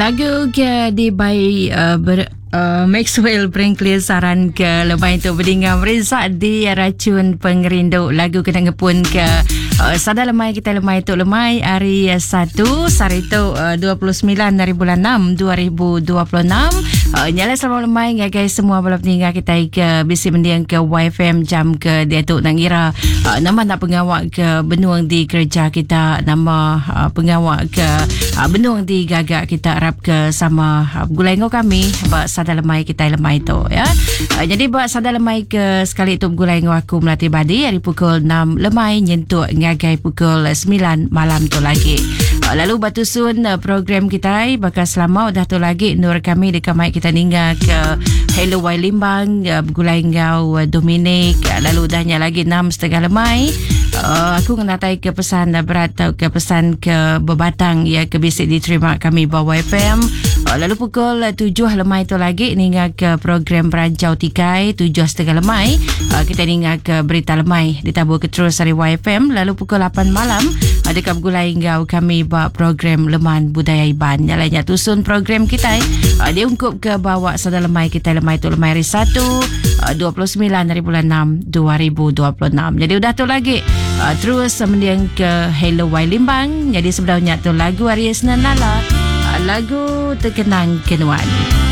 Lagu ke dibai uh, ber, uh, Maxwell Franklin saran ke lemai tu bedinga merinsa di racun pengerindu lagu kena ngepun ke uh, sada lemai kita lemai tu lemai hari satu sehari tu uh, 29 hari bulan 6 2026 uh, nyala selamat lemai ngagai semua bala peninga kita ke bisi mending ke YFM jam ke diatu nang ngira uh, nama nak pengawa ke benuang di kerja kita nama uh, pengawa ke uh, benung di gaga kita arap ke sama uh, begulai enggau kami ba sada lemai kita lemai tu ya. Uh, jadi ba sada lemai ke sekali tu begulai enggau aku Melati Badi hari pukul 6 lemai nyentuk ngagai pukul 9 malam tu lagi. Uh, lalu ba tusun uh, program kita baka selama udah tu lagi nur kami deka mai kita ninga ke Hello Wai Limbang uh, begulai enggau uh, Dominic uh, lalu udahnya lagi 6.30 lemai uh, aku ngenatai ke pesan berat tau ke pesan ke bebatang ya ke bisi diterima kami ba YFM. Uh, lalu pukul 7 lemai tu lagi ninga ke program Berancau Tikai 7.30 lemai uh, kita ninga ke berita lemai ditabur ke terus dari YFM lalu pukul 8 malam uh, dekat bergulai enggau kami ba program Leman Budaya Iban. Nyalanya tusun program kita uh, dia ungkup ke bawa sada lemai kita lemai tu lemai hari 1 29 hari bulan 6 2026. Jadi udah tu lagi uh, terus mendiang ke Hello Wai Limbang. Jadi sebelumnya tu lagu Aries Nala uh, lagu Terkenang Kenuan.